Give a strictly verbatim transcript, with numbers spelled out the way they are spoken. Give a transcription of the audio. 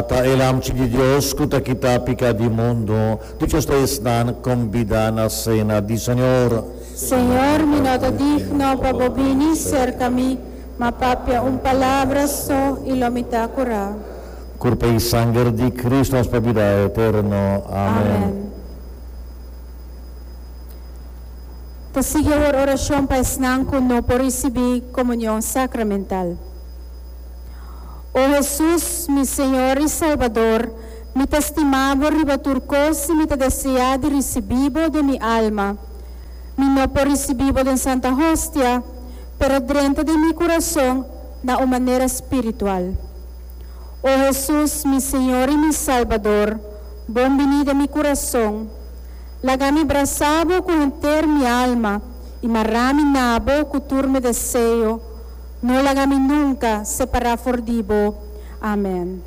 Ata e Lamchi di Dios ku ta kita piká di mundu, dichoso ta esnan kombidá na sena di Señor. Señor, mi no ta digno pa bo bini serka mi, ma papia un palabra so i lo mi ta kurá. Kurpa i sanger di Kristu nos pa bida eterno. Amèn. Amèn. Ta sigui awor orashon pa esnan ku no por risibí komunion sakramental. O Hesus, mi Señor i Salbador, mi ta stima bo riba tur kos i mi ta deseá di risibí bo den mi alma. Mi no por risibí bo den Santa Hostia, pero drenta den mi kurason na un manera spiritual. O Hesus, mi Señor i mi Salbador, bon biní den mi kurason. Laga mi brasa bo ku henter mi alma i mará mi na bo ku tur mi deseo. No laga mi nunka separá for di bo. Amèn.